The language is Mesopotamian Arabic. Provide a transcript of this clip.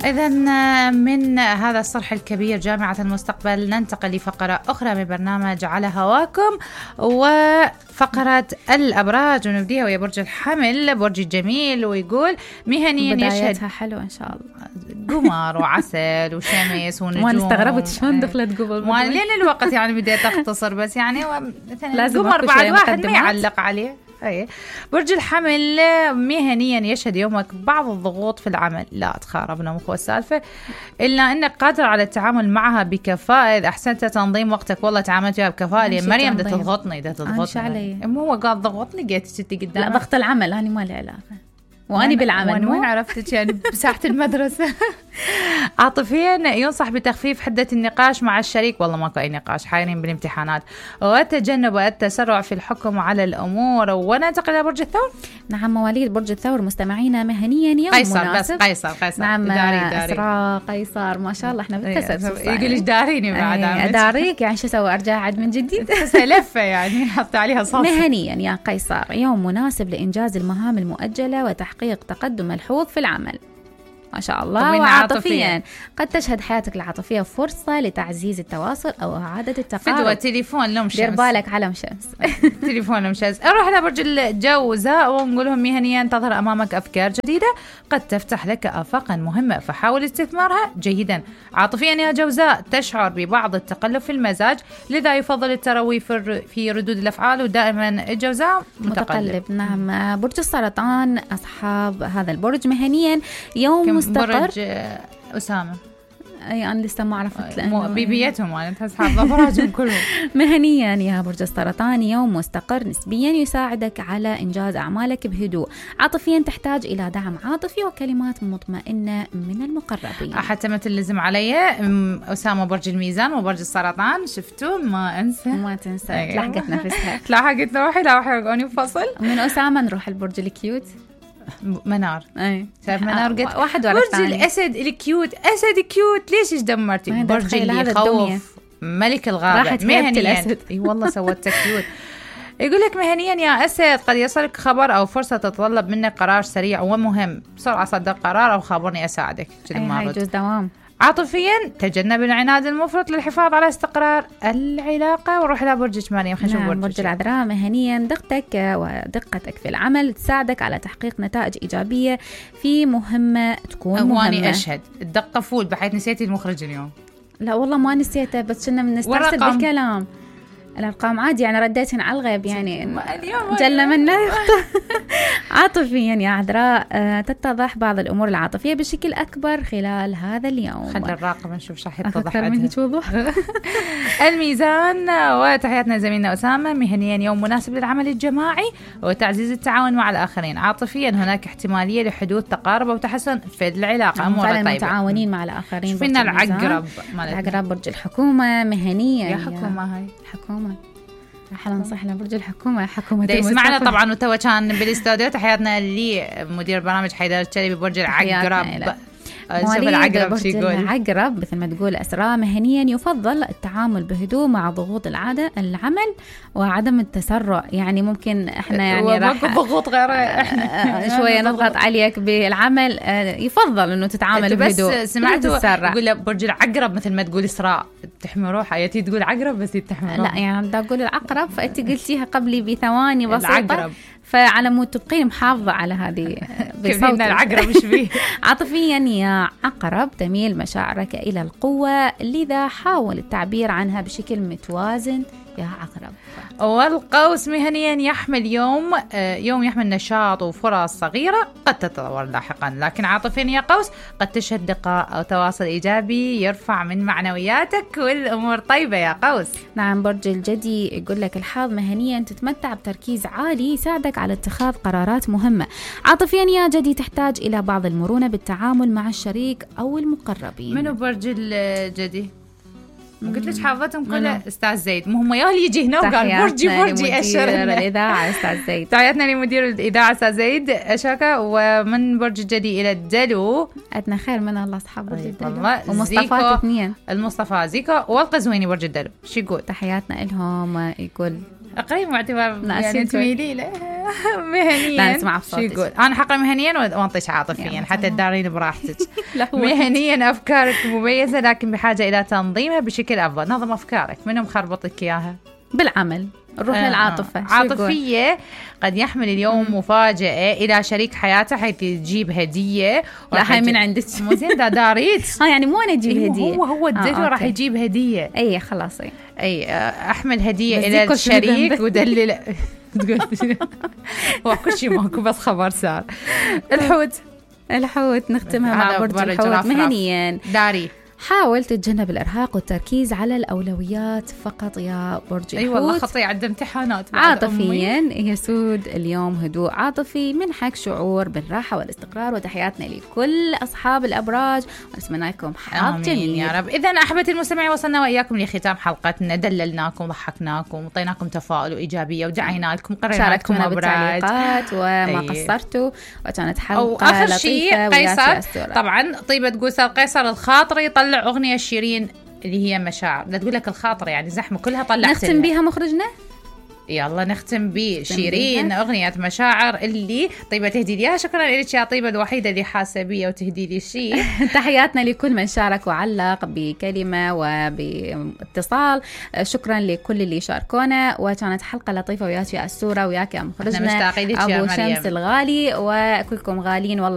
إذا من هذا الصرح الكبير جامعة المستقبل ننتقل لفقرة أخرى من برنامج على هواكم، وفقرة الأبراج، ونبديها ويا برج الحمل، برج الجميل، ويقول مهنيا بدايتها حلو إن شاء الله، قمر وعسل وشمس ونجوم. وانا استغربت شلون دخلت قبل لين الوقت يعني بديت أختصر، بس يعني لازم قمر بعد واحد ما يعلق عليه. أي. برج الحمل مهنيا يشهد يومك بعض الضغوط في العمل، لا تخاربنا مخ السالفة، إلا أنك قادر على التعامل معها بكفاءة إذا أحسنت تنظيم وقتك. والله تعاملت فيها بكفاءة، لأن مريم بدها تضغطني مو هو قاعد ضغطني جيت ستي قدام. لا ضغط العمل أنا ما لي علاقة، وأني بالعمل. وين عرفتك يعني بساحة المدرسة؟ عاطفيا ينصح بتخفيف حدة النقاش مع الشريك، والله ماكو أي نقاش، حايرين بالامتحانات، وتجنب التسرع في الحكم على الأمور. وننتقل إلى برج الثور. نعم، مواليد برج الثور مستمعينا مهنيا يوم قيصر مناسب. بس قيصر نعم، داري. إسراء قيصر ما شاء الله، احنا بالتسلسل. يقول ليش داريني بعد أداريك يعني شو أسوي، أرجع عد من جديد لفة يعني حط عليها صوص. مهنيا يا قيصر يوم مناسب لإنجاز المهام المؤجلة وتحقيق تقدم ملحوظ في العمل ما شاء الله. وعاطفيا قد تشهد حياتك العاطفية فرصة لتعزيز التواصل أو إعادة التقارب. فدوى تليفون لهم شمس، دير بالك علم شمس. تليفون لهم شمس. نروح لبرج الجوزاء ونقول لهم مهنيا تظهر أمامك أفكار جديدة قد تفتح لك آفاقا مهمة، فحاول استثمارها جيدا. عاطفيا يا جوزاء تشعر ببعض التقلب في المزاج، لذا يفضل التروي في ردود الأفعال، ودائما الجوزاء متقلب. نعم، برج السرطان أصحاب هذا البرج مهنيا يوم مستقر. برج أسامة أي أنا لسه ما عرفت بيبيتهم أنا أصحاب ظفراتهم كلهم. مهنيا يا برج السرطان يوم مستقر نسبيا يساعدك على إنجاز أعمالك بهدوء. عاطفيا تحتاج إلى دعم عاطفي وكلمات مطمئنة من المقربين. حتى ما تلزم علي أسامة برج الميزان وبرج السرطان، شفتوا ما تنسى تلاحقت نفسها. تلاحقت روحي فصل. من أسامة نروح البرج الكيوت منار. شايف منار قلت واحد ورا الثاني. برج الأسد الكيوت، أسد كيوت، ليش إيش دمرتي؟ برج اللي يخوف، ملك الغابة مهنيا. اي والله سوت كيوت. يقول لك مهنيا يا أسد قد يصلك خبر أو فرصة تتطلب منك قرار سريع ومهم، بسرعة صدق قرار أو خابرني أساعدك. هاي يجوز دوام. عاطفيا تجنب العناد المفرط للحفاظ على استقرار العلاقة. وروح إلى برجك مريم. خلينا نشوف برج العذراء مهنيا دقتك في العمل تساعدك على تحقيق نتائج إيجابية في مهمة تكون مهمة. واني أشهد الدقة فول بحيث نسيتي المخرج اليوم. لا والله ما نسيته، بس كنا بنسترسل بالكلام. الأرقام عادي يعني رديتهن على الغيب يعني جل من لا يخطئ. عاطفيا يا عذراء تتضح بعض الأمور العاطفية بشكل أكبر خلال هذا اليوم. خلي الراقب نشوف شو يتضح أكثر من هيك وضوح. الميزان وتحياتنا زميلنا أسامة مهنيا يوم مناسب للعمل الجماعي وتعزيز التعاون مع الآخرين. عاطفيا هناك احتمالية لحدوث تقارب أو تحسن في العلاقة. أمور طيبة متعاونين مع الآخرين. فينا العقرب برج الحكومة مهنيا يا حكومة. هاي حكومة أهلا وسهلا برج الحكومة. حكومة يسمعنا طبعا وتوا كان بالاستوديو. تحياتنا لمدير برنامج حيدر الشلبي برج العقرب. مواليد برج العقرب مثل ما تقول أسراء مهنيا يفضل التعامل بهدوء مع ضغوط العمل وعدم التسرع. يعني ممكن احنا يعني راح ضغوط غير احنا شوية نضغط عليك بالعمل، يفضل انه تتعامل بهدوء. بس سمعتوا يقول برج العقرب مثل ما تقول إسراء تحمي روحها، يتي تقول عقرب بس تحمي روحها. لا يعني بدي اقول العقرب، فانت قلتيها قبلي بثواني بسيطة العقرب. فعلى مود تبقين محافظة على هذه بصوتك. العقرب مش فيه. عاطفيا يا عقرب تميل مشاعرك إلى القوة، لذا حاول التعبير عنها بشكل متوازن يا عقرب. والقوس مهنيا يحمل يوم يحمل نشاط وفرص صغيرة قد تتطور لاحقا، لكن عاطفيا يا قوس قد تشهد لقاء أو تواصل إيجابي يرفع من معنوياتك والأمور طيبة يا قوس. نعم، برج الجدي يقول لك الحظ مهنيا تتمتع بتركيز عالي يساعدك على اتخاذ قرارات مهمة. عاطفيا يا جدي تحتاج إلى بعض المرونة بالتعامل مع الشريك أو المقربين. منو برج الجدي؟ قلت لك حافظتهم كلها استاذ زيد، مو هم ياهل يجي هنا وقال برجي اشر الاذاعه استاذ زيد. تحياتنا لمدير الاذاعه استاذ زيد اشاكا. ومن برج الجدي الى الدلو عندنا خير من الله اصحاب برج الدلو ومصطفى اثنين. المصطفى زيكا والقزويني برج الدلو شو يقول؟ تحياتنا لهم. يقول اقري معتبر يعني تميلي له مهنيا. لا نسمع بصوتك. انا حقري مهنيا وانطيش عاطفيا حتى تدارين براحتك. مهنيا افكارك مميزه لكن بحاجه الى تنظيمها بشكل افضل. نظم افكارك. منو مخربطك اياها؟ بالعمل. نروح للعاطفة. عاطفية. قد يحمل اليوم مفاجأة إلى شريك حياته حيث تجيب هدية. لا هاي من عندك. مو زين داريت. يعني مو أنا أجيب هدية. هو الدجو راح يجيب هدية. أي خلاص. أي أحمل هدية إلى الشريك ودلل. وكل شيء ماكو بس خبر سار. الحوت نختمها مع برج الحوت مهنيا. داري. حاول تتجنب الإرهاق والتركيز على الأولويات فقط يا برج الحوت. أي والله خطي عند امتحانات. عاطفيا يسود اليوم هدوء عاطفي منحك شعور بالراحة والاستقرار. وتحياتنا لكل أصحاب الأبراج ونتمنى لكم حظ جميل يا رب. إذن أحبتي المستمعين وصلنا وإياكم لختام حلقتنا. دللناكم ضحكناكم وعطيناكم تفاؤل وإيجابية ودعينا لكم قرينا لكم بالتعليقات وما قصرتوا. وكانت حلقة آخر شيء قيصر. طبعا طيبة تقول قيصر الخاطر يطلع أغنية شيرين اللي هي مشاعر. لا تقول لك الخاطر يعني زحمة كلها طلعت. نختم بها مخرجنا. يلا نختم بشيرين أغنية مشاعر اللي طيبة تهدي لي. شكرا لك يا طيبة الوحيدة اللي حاسة بي وتهدي لي شيء. تحياتنا لكل من شارك وعلق بكلمة وباتصال. شكرا لكل اللي شاركونا. وكانت حلقة لطيفة وياك يا السورة وياك يا مخرجنا أبو شمس الغالي. وكلكم غاليين والله.